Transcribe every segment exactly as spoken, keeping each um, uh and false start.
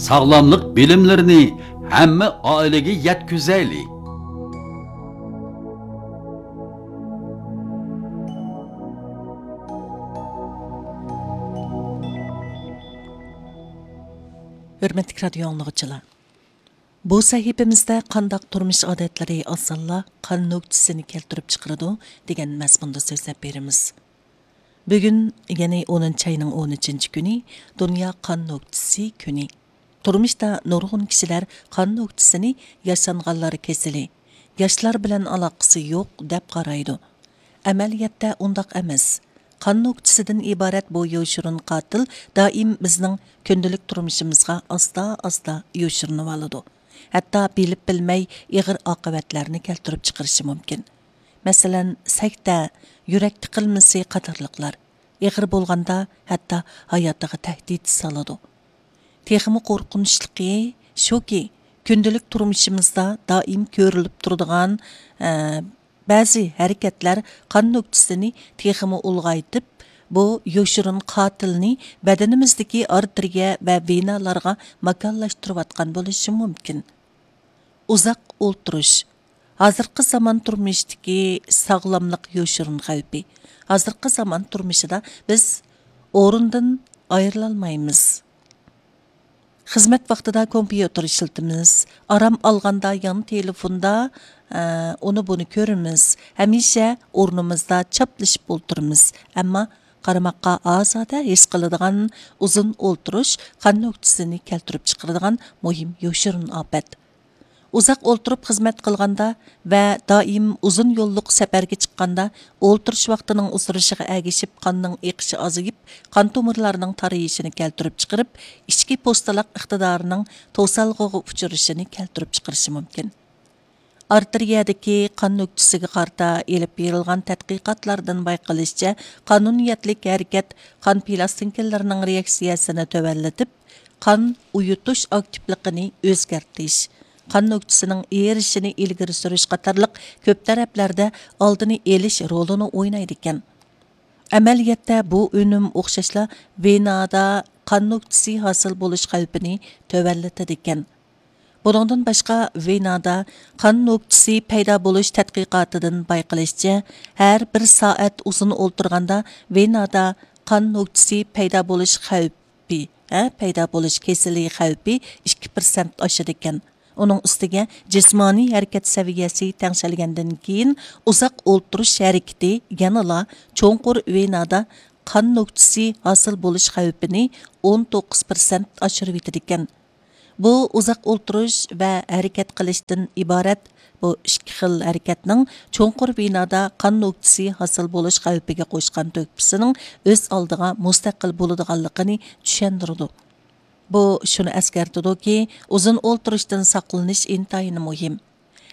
ساغلاملىق بىلىملىرىنى ھەممە ئائىلىگە يەتكۈزەيلى. ھۆرمەتلىك رادىيو ئاڭلىغۇچىلار، بۇ سەھىپىمىزدە قانداق تۇرمۇش ئادەتلىرى ئاسانلا قان نۆكچىسىنى كەلتۈرۈپ چىقىرىدۇ دېگەن مەزمۇندا سۆزلەپ بېرىمىز. بۈگۈن، يەنى ئونىنچى ئاينىڭ ئون ئۈچىنچى كۈنى دۇنيا قان نۆكچىسى كۈنى. تۇرمۇشتا نۇرغۇن كىشىلەر قان نۆكچىسىنى ياشانغانلار كېسىلى، ياشلار بىلەن ئالاقىسى يوق دەپ قارايدۇ. ئەمەلىيەتتە ئۇنداق ئەمەس. قان نۆكچىسىدىن ئىبارەت بۇ يوشۇرۇن قاتىل دائىم بىزنىڭ كۈندىلىك تۇرمۇشىمىزغا ئاستا-ئاستا يوشۇرۇنۇۋالىدۇ. ھەتتا بىلىپ بىلمەي ئېغىر ئاقىۋەتلەرنى كەلتۈرۈپ چىقىرىشى مۇمكىن. مەسىلەن، سەكتە، يۈرەك تىقىلمىسى قاتارلىقلار. ئېغىر بولغاندا ھەتتا ھاياتىغا تەھدىت سالىدۇ. تېخىمۇ قورقۇنچلۇقى شۇكى، كۈندىلىك تۇرمۇشىمىزدا دائىم كۆرۈلۈپ تۇرىدىغان، ئە، بەزى ھەرىكەتلەر قان نۆكچىسىنى تېخىمۇ ئۇلغايتىپ، بۇ يوشۇرۇن قاتىلنى بەدىنىمىزدىكى ئارتېرىيە ۋە ۋېنالارغا ماكانلاشتۇرۇۋاتقان بولۇشى مۇمكىن. ئۇزاق ئولتۇرۇش. ھازىرقى زامان تۇرمۇشتىكى ساغلاملىق يوشۇرۇن خەۋپى. ھازىرقى زامان تۇرمۇشىدا بىز ئورۇندىن ئايرىلالمايمىز. خىزمەت ۋاقتىدا كومپيۇتېر ئىشلىتىمىز، ئارام ئالغاندا يان تېلېفوندا، ئە، ئۇنى بۇنى كۆرىمىز، ھەمىشە ئورنىمىزدا چاپلىشىپ ئولتۇرىمىز. ئەمما قارىماققا ئازادە ھېس قىلىدىغان ئۇزۇن ئولتۇرۇش قان نۆكچىسىنى كەلتۈرۈپ چىقىرىدىغان مۇھىم يوشۇرۇن ئاپەت. ئۇزاق ئولتۇرۇپ خىزمەت قىلغاندا ۋە دائىم ئۇزۇن يوللۇق سەپەرگە چىققاندا، ئولتۇرۇش ۋاقتىنىڭ ئۇزىرىشىغا ئەگىشىپ قاننىڭ ئېقىشى ئازىيىپ، قان تومۇرلارنىڭ تارىيىشىنى كەلتۈرۈپ چىقىرىپ، ئىچكى پوستىلاق ئىقتىدارىنىڭ توسالغۇغا ئۇچرىشىنى كەلتۈرۈپ چىقىرىشى مۇمكىن. ئارتېرىيەدىكى قان نۆكچىسىگە قارىتا ئېلىپ بېرىلغان تەتقىقاتلاردىن بايقىلىشىچە، قانۇنىيەتلىك ھەرىكەت قان پىلاستىنكىلىرىنىڭ رېئاكسىيەسىنى تۆۋەنلىتىپ، قان ئۇيۇتۇش ئاكتىپلىقىنى ئۆزگەرتىش، قان نۆكچىسىنىڭ ئېرىشىشىنى ئىلگىرى سۈرۈش قاتارلىق كۆپ تەرەپلەردە ئالدىنى ئېلىش رولىنى ئوينايدىكەن. ئەمەلىيەتتە بۇ ئۈنۈم ئوخشاشلا ۋېنادا قان نۆكچىسى ھاسىل بولۇش خەۋپىنى تۆۋەنلىتىدىكەن. بۇنىڭدىن باشقا، ۋېنادا قان نۆكچىسى پەيدا بولۇش تەتقىقاتىدىن بايقىلىشىچە، ھەر بىر سائەت ئۇزۇن ئولتۇرغاندا ۋېنادا قان نۆكچىسى پەيدا بولۇش خەۋپى، ھە، پەيدا بولۇش كېسىلى خەۋپى ئىككى پىرسەنت ئاشىدىكەن. ئۇنىڭ ئۈستىگە جىسمانىي ھەرىكەت سەۋىيەسى تەڭشەلگەندىن كېيىن، ئۇزاق ئولتۇرۇش ھەرىكىتى يەنىلا چوڭقۇر ۋېنادا قان نۆكچىسى ھاسىل بولۇش خەۋپىنى ئون توققۇز پىرسەنت ئاشۇرۇۋېتىدىكەن. بۇ ئۇزاق ئولتۇرۇش ۋە ھەرىكەت قىلىشتىن ئىبارەت بۇ ئىككى خىل ھەرىكەتنىڭ چوڭقۇر ۋېنادا قان نۆكچىسى ھاسىل بولۇش خەۋپىگە قوشقان تۆھپىسىنىڭ ئۆز ئالدىغا مۇستەقىل بولىدىغانلىقىنى چۈشەندۈرىدۇ. بۇ شۇنى ئەسكەرتىدۇكى، ئۇزۇن ئولتۇرۇشتىن ساقلىنىش ئىنتايىن مۇھىم.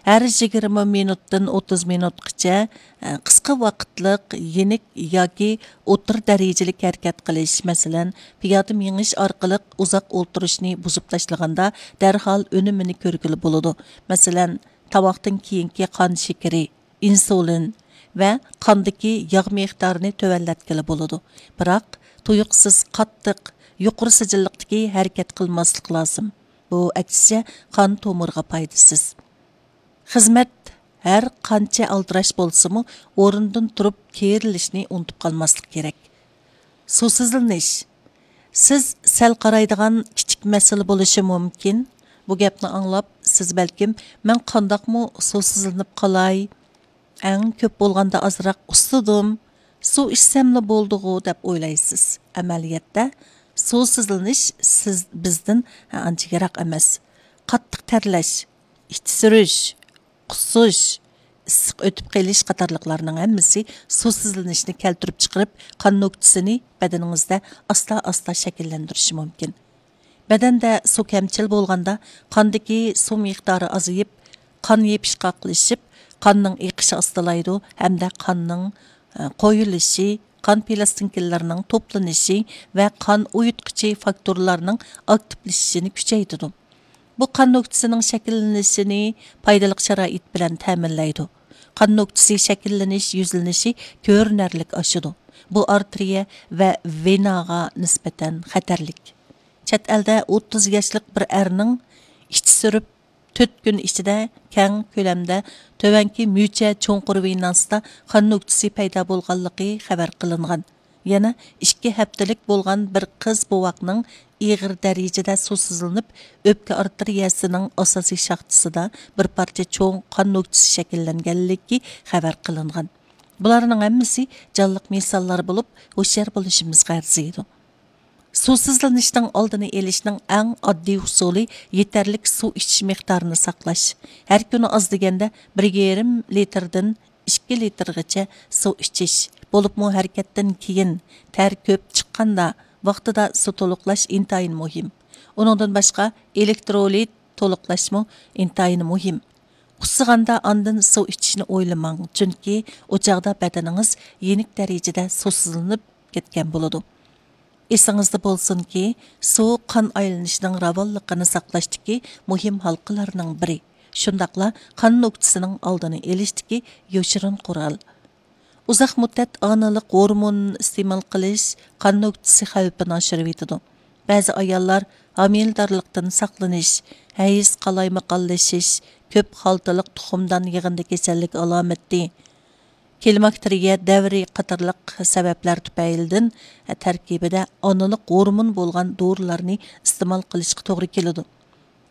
ھەر يىگىرمە مىنۇتتىن ئوتتۇز مىنۇتقىچە، ئە، قىسقا ۋاقىتلىق يېنىك ياكى ئوتتۇرا دەرىجىلىك ھەرىكەت قىلىش، مەسىلەن، پىيادە مېڭىش ئارقىلىق ئۇزاق ئولتۇرۇشنى بۇزۇپ تاشلىغاندا، دەرھال ئۈنۈمىنى كۆرگىلى بولىدۇ. مەسىلەن، تاماقتىن كېيىنكى قان شېكىرى، ئىنسۇلىن ۋە قاندىكى ياغ مىقدارىنى تۆۋەنلەتكىلى بولىدۇ. بىراق، تۇيۇقسىز قاتتىق، يۇقىرى سىجىللىقتىكى ھەرىكەت قىلماسلىق لازىم. بۇ، ئەكسىچە، قان تومۇرىغا پايدىسىز. خىزمەت ھەر قانچە ئالدىراش بولسىمۇ، ئورنىدىن تۇرۇپ كېرىلىشنى ئۇنتۇپ قالماسلىق كېرەك. سۇسىزلىنىش. سىز سەل قارايدىغان كىچىك مەسىلە بولۇشى مۇمكىن. بۇ گەپنى ئاڭلاپ، سىز بەلكىم، مەن قانداقمۇ سۇسىزلىنىپ قالاي؟ ئەڭ كۆپ بولغاندا ئازراق ئۇسسىدىم. سۇ ئىچسەملا بولدىغۇ دەپ ئويلايسىز. ئەمەلىيەتتە، سۇسىزلىنىش سىز، بىزدىن ئانچە يىراق ئەمەس. قاتتىق تەرلەش، ئىچ سۈرۈش، قۇسۇش، ئىسسىق ئۆتۈپ قېلىش قاتارلىقلارنىڭ ھەممىسى سۇسىزلىنىشنى كەلتۈرۈپ چىقىرىپ، قان نۆكچىسىنى بەدىنىڭىزدە ئاستا-ئاستا شەكىللەندۈرۈشى مۇمكىن. بەدەندە سۇ كەمچىل بولغاندا، قاندىكى سۇ مىقدارى ئازىيىپ، قان يېپىشقاقلىشىپ، قاننىڭ ئېقىشى ئاستىلايدۇ ھەمدە قاننىڭ، ئە، قويۇلۇشى، قان پىلاستىنكىلىرىنىڭ توپلىنىشى ۋە قان ئۇيۇتقۇچى فاكتورلارنىڭ ئاكتىپلىشىشىنى كۈچەيتىدۇ. بۇ قان نۆكچىسىنىڭ شەكىللىنىشىنى پايدىلىق شارائىت بىلەن تەمىنلەيدۇ. قان نۆكچىسى شەكىللىنىش يۈزلىنىشى كۆرۈنەرلىك ئاشىدۇ. بۇ ئارتېرىيە ۋە ۋېناغا نىسبەتەن خەتەرلىك. چەت ئەلدە ئوتتۇز ياشلىق بىر ئەرنىڭ ئىچى سۈرۈپ، تۆت كۈن ئىچىدە كەڭ كۆلەمدە تۆۋەنكى مۈچە چوڭقۇر ۋېناسىدا قان نۆكتىسى پەيدا بولغانلىقى خەۋەر قىلىنغان. يەنە ئىككى ھەپتىلىك بولغان بىر قىز بوۋاقنىڭ ئېغىر دەرىجىدە سۇسىزلىنىپ، ئۆپكە ئارتېرىيەسىنىڭ ئاساسىي شاختىسىدا بىر پارچە چوڭ قان نۆكتىسى شەكىللەنگەنلىكى خەۋەر قىلىنغان. بۇلارنىڭ ھەممىسى جانلىق مىساللار بولۇپ، ھوشيار بولۇشىمىزغا ئەرزىيدۇ. سۇسىزلىنىشنىڭ ئالدىنى ئېلىشنىڭ ئەڭ ئاددىي ئۇسۇلى يېتەرلىك سۇ ئىچىش مىقدارىنى ساقلاش. ھەر كۈنى ئاز دېگەندە بىر يېرىم لىتىردىن ئىككى لىتىرغىچە سۇ ئىچىش، بولۇپمۇ ھەرىكەتتىن كېيىن، تەر كۆپ چىققاندا، ۋاقتىدا سۇ تولۇقلاش ئىنتايىن مۇھىم. ئۇنىڭدىن باشقا، ئېلېكترولىت تولۇقلاشمۇ ئىنتايىن مۇھىم. ئۇسسىغاندا ئاندىن سۇ ئىچىشنى ئويلىماڭ، چۈنكى ئۇ چاغدا بەدىنىڭىز يېنىك دەرىجىدە سۇسىزلىنىپ كەتكەن بولىدۇ. ئېسىڭىزدە بولسۇنكى، سۇ قان ئايلىنىشىنىڭ راۋانلىقىنى ساقلاشتىكى مۇھىم ھالقىلارنىڭ بىرى، شۇنداقلا قان نۆكتىسىنىڭ ئالدىنى ئېلىشتىكى يوشۇرۇن قورال. ئۇزاق مۇددەت ئانىلىق ھورمون ئىستېمال قىلىش قان نۆكتىسى خەۋپىنى ئاشۇرۇۋېتىدۇ. بەزى ئاياللار ھامىلىدارلىقتىن ساقلىنىش، ھەيز قالايمىقانلىشىش، كۆپ خالتىلىق تۇخۇمدان يىغىندى كېسەللىك ئالامىتى، كلىماكتېرىيە دەۋرى قاتارلىق سەۋەبلەر تۈپەيلىدىن تەركىبىدە ئانىلىق ھورمون بولغان دورىلارنى ئىستېمال قىلىشقا توغرا كېلىدۇ.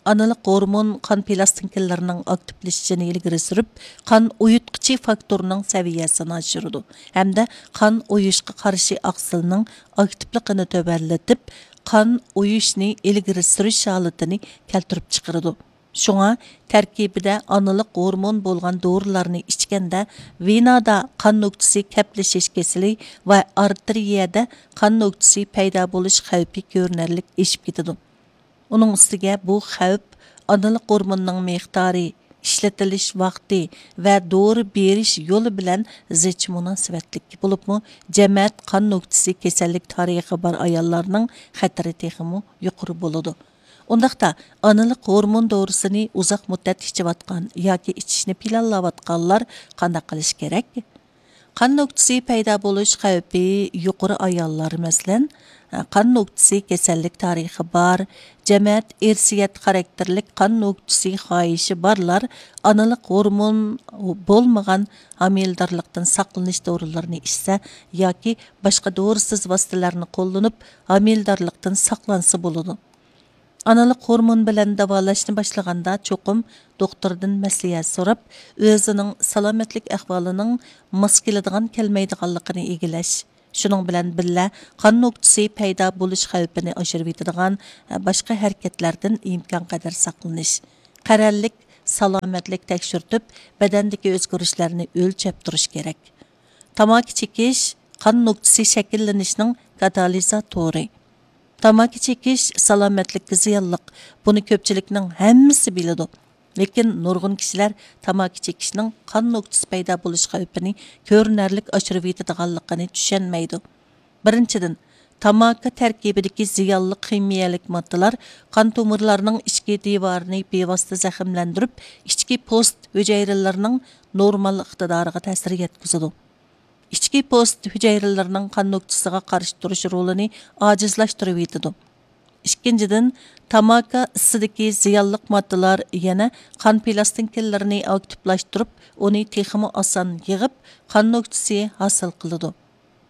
ئانىلىق ھورمون قان پىلاستىنكىلىرىنىڭ ئاكتىپلىشىشىنى ئىلگىرى سۈرۈپ، قان ئۇيۇتقۇچى فاكتورنىڭ سەۋىيەسىنى ئاشۇرىدۇ ھەمدە قان ئۇيۇشقا قارشى ئاقسىلنىڭ ئاكتىپلىقىنى تۆۋەنلىتىپ، قان ئۇيۇشنى ئىلگىرى سۈرۈش ھالىتىنى كەلتۈرۈپ چىقىرىدۇ. شۇڭا، تەركىبىدە ئانىلىق ھورمون بولغان دورىلارنى ئىچكەندە، ۋېنادا قان نۆكتىسى كەپلىشىش كېسىلى ۋە ئارتېرىيەدە قان نۆكتىسى پەيدا بولۇش خەۋپى كۆرۈنەرلىك ئېشىپ كېتىدۇ. ئۇنىڭ ئۈستىگە بۇ خەۋپ ئانىلىق ھورموننىڭ مىقدارى، ئىشلىتىلىش ۋاقتى ۋە دورا بېرىش يولى بىلەن زىچ مۇناسىۋەتلىك بولۇپمۇ، جەمەت قان نۆكتىسى كېسەللىك تارىخى بار ئاياللارنىڭ خەتىرى تېخىمۇ يۇقىرى بولىدۇ. ئۇنداقتا، ئانىلىق ھورمون دورىسىنى ئۇزاق مۇددەت ئىچىۋاتقان ياكى ئىچىشنى پىلانلاۋاتقانلار قانداق قىلىش كېرەك؟ قان نۆكتىسى پەيدا بولۇش خەۋپى يۇقىرى ئاياللار، مەسىلەن، قان نۆكتىسى كېسەللىك تارىخى بار، جەمەت ئىرسىيەت خاراكتېرلىك قان نۆكتىسى خاھىشى بارلار ئانىلىق ھورمون بولمىغان ھامىلىدارلىقتىن ساقلىنىش دورىلىرىنى ئىچسە ياكى باشقا دورىسىز ۋاسىتىلەرنى قوللىنىپ، ھامىلىدارلىقتىن ساقلانسا بولىدۇ. ئانىلىق ھورمون بىلەن داۋالاشنى باشلىغاندا، چوقۇم دوختۇردىن مەسلىھەت سوراپ، ئۆزىنىڭ سالامەتلىك ئەھۋالىنىڭ ماس كېلىدىغان-كەلمەيدىغانلىقىنى ئىگىلەش، شۇنىڭ بىلەن بىللە، قان نۆكتىسى پەيدا بولۇش خەۋپىنى ئاشۇرۇۋېتىدىغان باشقا ھەرىكەتلەردىن ئىمكانقەدەر ساقلىنىش، قەرەللىك سالامەتلىك تەكشۈرتۈپ، بەدەندىكى ئۆزگىرىشلەرنى ئۆلچەپ تۇرۇش كېرەك. تاماكا چېكىش قان نۆكتىسى شەكىللىنىشنىڭ كاتالىزاتورى. تاماكا چېكىش سالامەتلىككە زىيانلىق، بۇنى كۆپچىلىكنىڭ ھەممىسى بىلىدۇ. لېكىن نۇرغۇن كىشىلەر تاماكا چېكىشنىڭ قان نۆكتىسى پەيدا بولۇش خەۋپىنى كۆرۈنەرلىك ئاشۇرۇۋېتىدىغانلىقىنى چۈشەنمەيدۇ. بىرىنچىدىن، تاماكا تەركىبىدىكى زىيانلىق خىمىيەلىك ماددىلار قان تومۇرلارنىڭ ئىچكى دىۋارىنى بىۋاسىتە زەخىملەندۈرۈپ، ئىچكى پوست ھۈجەيرىلىرىنىڭ نورمال ئىقتىدارىغا تەسىر يەتكۈزىدۇ. ئىچكى پوست ھۈجەيرىلىرىنىڭ قان نۆكتىسىغا قارشى تۇرۇش رولىنى ئاجىزلاشتۇرۇۋېتىدۇ. ئىككىنچىدىن، تاماكا ئىسسىدىكى زىيانلىق ماددىلار يەنە قان پىلاستىنكىلىرىنى ئاكتىپلاشتۇرۇپ، ئۇنى تېخىمۇ ئاسان يىغىپ، قان نۆكتىسى ھاسىل قىلىدۇ.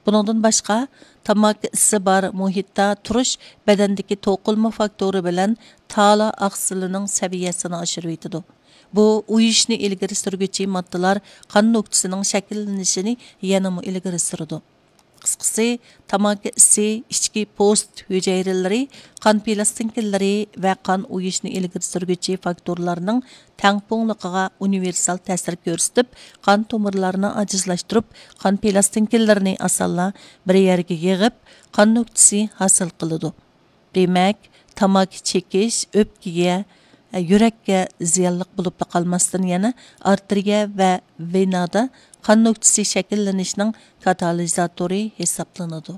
بۇنىڭدىن باشقا، تاماكا ئىسى بار مۇھىتتا تۇرۇش بەدەندىكى توقۇلما فاكتورى بىلەن تالا ئاقسىلىنىڭ سەۋىيەسىنى ئاشۇرۇۋېتىدۇ. بۇ ئۇيۇشنى ئىلگىرى سۈرگۈچى ماددىلار قان نۆكتىسىنىڭ شەكىللىنىشىنى يەنىمۇ ئىلگىرى سۈرىدۇ. قىسقىسى، تاماكا ئىسى ئىچكى پوست ھۈجەيرىلىرى، قان پىلاستىنكىلىرى ۋە قان ئۇيۇشنى ئىلگىرى سۈرگۈچى فاكتورلارنىڭ تەڭپۇڭلۇقىغا ئۇنىۋېرسال تەسىر كۆرسىتىپ، قان تومۇرلارنى ئاجىزلاشتۇرۇپ، قان پىلاستىنكىلىرىنى ئاسانلا بىر يەرگە يىغىپ، قان نۆكتىسى ھاسىل قىلىدۇ. دېمەك، تاماكا چېكىش ئۆپكىگە، يۈرەككە زىيانلىق بولۇپلا قالماستىن، يەنە ئارتېرىيە ۋە ۋېنادا قان نۆكتىسى شەكىللىنىشنىڭ كاتالىزاتورى ھېسابلىنىدۇ.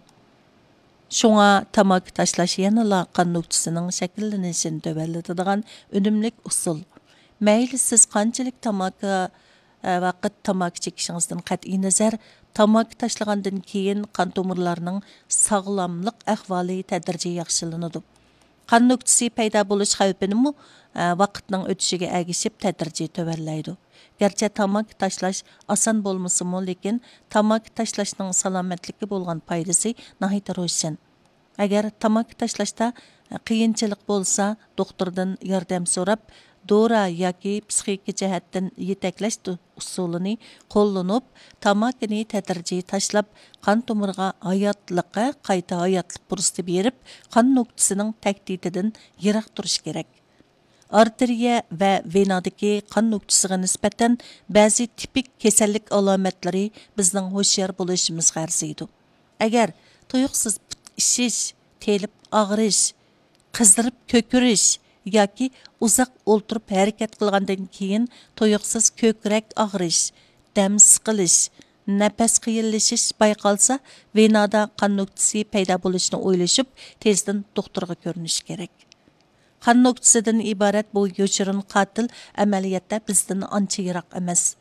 شۇڭا تاماكا تاشلاش يەنىلا قان نۆكتىسىنىڭ شەكىللىنىشىنى تۆۋەنلىتىدىغان ئۈنۈملۈك ئۇسۇل. مەيلى سىز قانچىلىك تاماكا، ۋاقىت تاماكا چېكىشىڭىزدىن قەتئىينەزەر، تاماكا تاشلىغاندىن كېيىن قان تومۇرلارنىڭ ساغلاملىق ئەھۋالى تەدرىجىي ياخشىلىنىدۇ. قان نۆكتىسى پەيدا بولۇش خەۋپىنىمۇ، ئە، ۋاقىتنىڭ ئۆتۈشىگە ئەگىشىپ تەدرىجىي تۆۋەنلەيدۇ. گەرچە تاماكا تاشلاش ئاسان بولمىسىمۇ، لېكىن تاماكا تاشلاشنىڭ سالامەتلىككە بولغان پايدىسى ناھايىتى روشەن. ئەگەر تاماكا تاشلاشتا قىيىنچىلىق بولسا، دوختۇردىن ياردەم سوراپ، دورا ياكى پسىخىكا جەھەتتىن يېتەكلەش ئۇسۇلىنى قوللىنىپ، تاماكىنى تەدرىجىي تاشلاپ، قان تومۇرىغا ھاياتلىققا قايتا ھاياتلىق پۇرسىتى بېرىپ، قان نۆكتىسىنىڭ تەھدىتىدىن يىراق تۇرۇش كېرەك. ئارتېرىيە ۋە ۋېنادىكى قان نۆكتىسىغا نىسبەتەن بەزى تىپىك كېسەللىك ئالامەتلىرى بىزنىڭ ھوشيار بولۇشىمىزغا ئەرزىيدۇ. ئەگەر تۇيۇقسىز پۇت ئىششىش، تېلىپ ئاغرىش، قىزىرىپ كۆكىرىش ياكى ئۇزاق ئولتۇرۇپ ھەرىكەت قىلغاندىن كېيىن تۇيۇقسىز كۆكرەك ئاغرىش، دەم سىقىلىش، نەپەس قىيىنلىشىش بايقالسا، ۋېنادا قان نۆكتىسى پەيدا بولۇشىنى ئويلىشىپ، تېزدىن دوختۇرغا كۆرۈنۈش كېرەك. قان نۆكتىسىدىن ئىبارەت بۇ يوشۇرۇن قاتىل ئەمەلىيەتتە بىزدىن ئانچە يىراق ئەمەس.